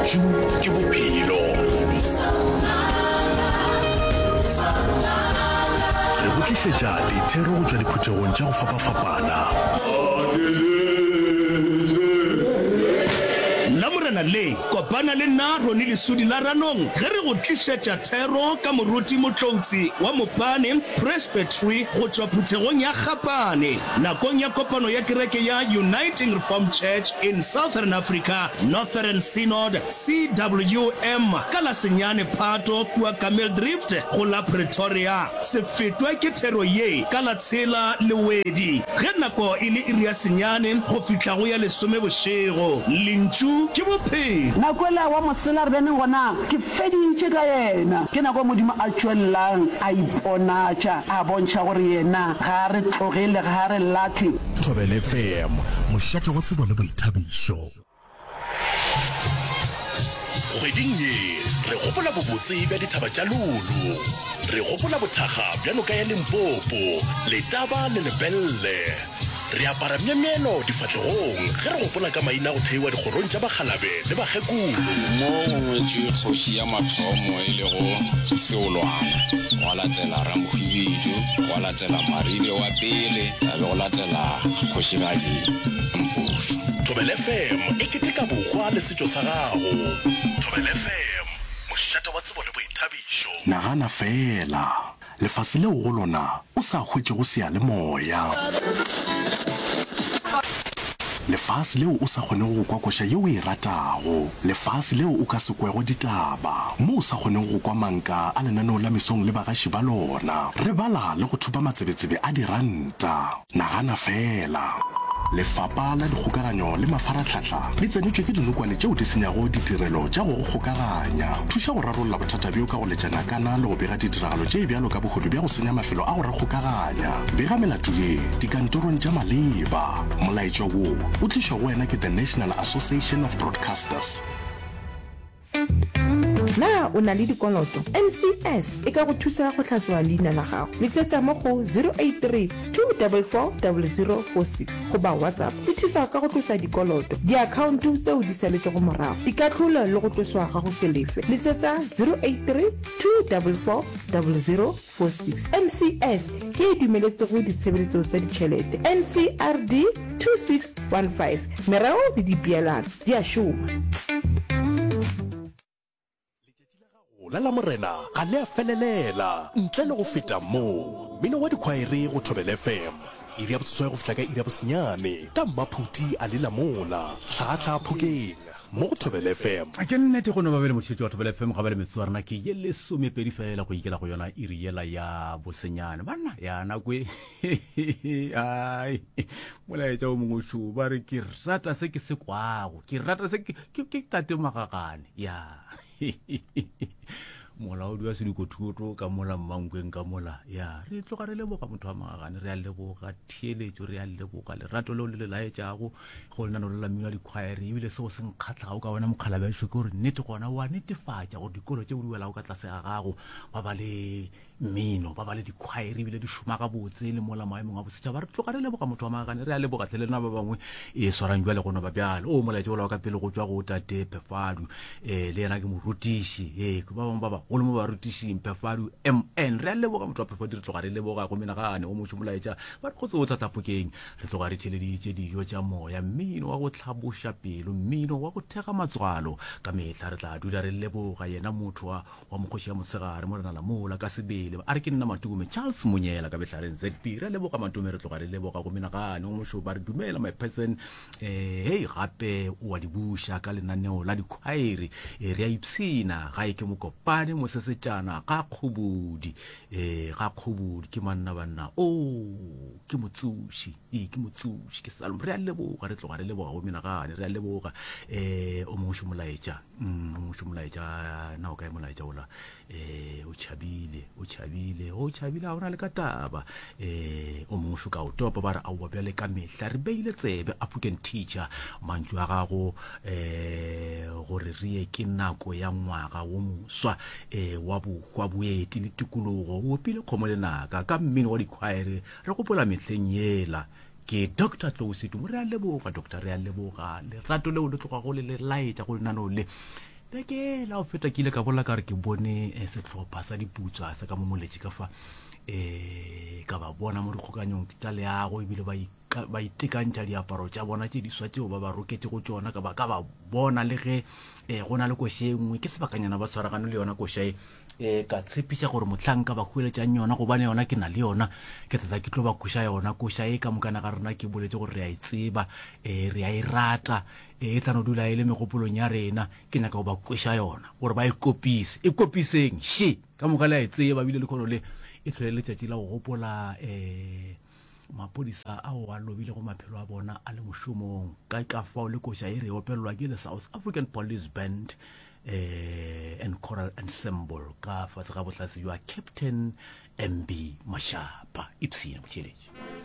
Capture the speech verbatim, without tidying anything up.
Lentšu ke bophelo. Re go tlišetša dithero go tšwa diphuthegong tša go fapafapana. Lamorena le, kopana le nna Ronnie Lesudi la Ranong ge re go tlišetša thero ka Moruti Motloutsi wa Mopane Presbytery go tšwa phuthegong ya Gapane nakong ya kopano ya kereke ya Uniting Reformed Church in Southern Africa Northern Synod, C W M, ka la senyane Phato kua Kameeldrift go la Pretoria. Se fetwe ke thero ye ka la tshela Lewedi ge nako e le iri ya senyane go fihla go ya lesome bošego. Lentšu ke bophelo. Nako ela wa mosela re beneng gona, ke feditše ka yena. Ke nako Modimo a tšwelelang a iponatša, a bontšha gore yena ga a re tlogele, ga a re lahle. Thobela F M, mošate wa tsebo le boithabišo. Kgweding ye re gopola bobotse bja dithaba tša Lulu. Re gopola bothakga bja noka ya Limpopo, Letaba le Lepelle. Re apara myemyelo difahlegong ge re gopola ka maina a go theiwa dikgorong tša bakgalabe le bakgekolo. Mo go ngwetšwe kgoši ya mathomo e lego Seolwana, gwa latela Ramohwibidu, gwa latela Maribe wa pele, ya be go latela Kgošigadi Mpušo. Thobela F M e keteka bohwa le setšo sa gago. Thobela F M, mošate wa tsebo le boithabišo. Nagana feela, lefase leo go lona o sa hwetšego seyalemoya. Lefase leo o sa kgonego go kwa koša yeo o e ratago. Lefase leo o ka se kwego ditaba. Mo o sa kgonego go kwa manka a lenaneo la mesong le bagaši ba lona. Re bala le go thopa matsebetsebe a diranta. Nagana feela. Lefapha la Dikgokaganyo le Mafarahlahla le tsenetšwe ke dinokwane tšeo di senyago ditirelo tša go go kgokaganya. Thuša go rarolla bothata bjo ka go letša nakana le go bega ditiragalo tše bjalo ka bohodu bja go senya mafelo a go re kgokaganya. Bega melato ye dikantorong tša maleba. Molaetša wo o tlišwa go wena ke The National Association of Broadcasters. Na o na le dikoloto? M C S e ka go thusa go hlatswa leina la gago. Letsetsa mo go zero eight three, two four four, zero zero four six goba WhatsApp. Di thusa ka go tlosa dikoloto, diakhaonto tseo di saletšego morago, dikahlolo le go tloswa ga go se lefe. Letsetsa zero eight three, two four four, zero zero four six. M C S ke e dumeletsego ditshebeletso tsa ditšhelete. N C R D two six one five. Mereo le dipeelano di a šoma. La Lamorena ga le a felelela ntle le go feta moo. Mmino wa dikhwaere go Thobela F M, iri ya boseswai go fihla ka iri ya bosenyane, ka Mmaphuti a le Lamola, Tlhaatlhaa Phokeng, mo go Thobela F M. Ke nnete go no ba bele motheetši wa Thobela F M ga ba le metsotso ya rena ke ye lesomepedi fela go ikela go yona iri yela ya bosenyane. Banna ya nako e ai molaetša o mongwe šo ba re ke rata se ke se kwago, ke rata se ke ke tate Magagane ya molaodi wa sedikothuto ka mola Mmankweng ka mola. Ya re tloga re leboga motho wa Magagane, re a leboga theeletšo, re a leboga lerato leo le le laetšago go lenano le la mmino wa dikhwaere. Ebile seo se nkgatlhago ka wena mokgalabešo ke gore nnete gona wa netefatša gore dikolo tšeo di welago ka tlase ga gago ba ba le mmino, ba ba le dikhwaere, ebile di šoma gabotse le mola maemong a bosetšhaba. Re tloga re leboga motho wa Magagane, re a leboga tle le lena ba bangwe e swarang jwale go no ba bjalo. O molaetša ola wa ka pele go tšwa go tate Phefadu, um le yena ke morutiši, ee ba bangwe ba bagolo mo barutišing, Phefadu M N, re a leboga motho wa Phefadu, re tloga re leboga go menagane. O mošo molaetša ba re kgotse o tlatlapokeng, re tloga re theleditše dijo tša moya, mmino wa go hlaboša pelo, mmino wa go thega matswalo. Ka mehla re tla dula re leboga yena motho wa wa mokgoši ya motshegare morena Lamola ka sebele. A re ke nna Matume Charles Monyela ka Behlareng Z B, re leboga Matume, re tloga re leboga go menagane. O mošo ba re dumela my person, eh hei gape o wa di buša ka lenaneo la dikhwaere, eh, re a ipshina ga e ke Mokopane mosesetšana ga Kgobodi, eh ga Kgobodi ke manna banna o ke motsoši, ee ke motsoši ke Salom, re a leboga, re tloga re leboga go menagane, re a leboga. eh o mongwe šo molaetša, mm, o mongwe šo molaetša, na o kae molaetša ola? eh o tšhabile, o tšhabile, o tšhabile, ga ona le ka taba. eh o mongwe šo ka o topa, ba re aowa bjale ka mehla re beile tsebe African teacher, mantšu a gago eh gore re ye ke nako ya ngwaga wo moswa eh wa bohwa boeti le tikologo, o opile kgomo lenaka ka mmino wa dikhwaere, re gopola mehleng yela. Ke Doctor Tlou Setumo, re a leboga doctor, re a leboga lerato leo le tlogago le le laetša go lenaneo le. Beke la go feta ke ile ka bolela ka re ke bone eh, sehlopha sa diputswa sa ka mo moletše ka fa um ka ba bona mo dikgokanyong tša leago ebile ba ba itekantšha diaparo tša bona tše diswa tšeo ba ba roketšego tšona ka ba ka ba bona le ge um go na le koša e nngwe ke sebakanyana ba tshwaragane le yona koša e um ka tshepiša gore mohlanka ba hweletšang yona gobane yona ke na le yona ke tlatla ke tlo ba kweša yona koša e ka mokana ga rena ke boletse gore re a e tseba um re a e rata um e tla no dula e le megopolong ya rena ke nyaka go ba kweša yona gore ba e kopise e kopiseng še ka moka le a e tseba ebile lekgono le e tlhole letšatši la go gopola um maphodisa ao a lobilego maphelo a bona a le mošomong ka ka fao le koša e re opelelwa ke the South African Police Band eh, and Choral Ensemble ka fase ga bohlatse jwa Captain M B Mashapa. Ipshina motheeletši.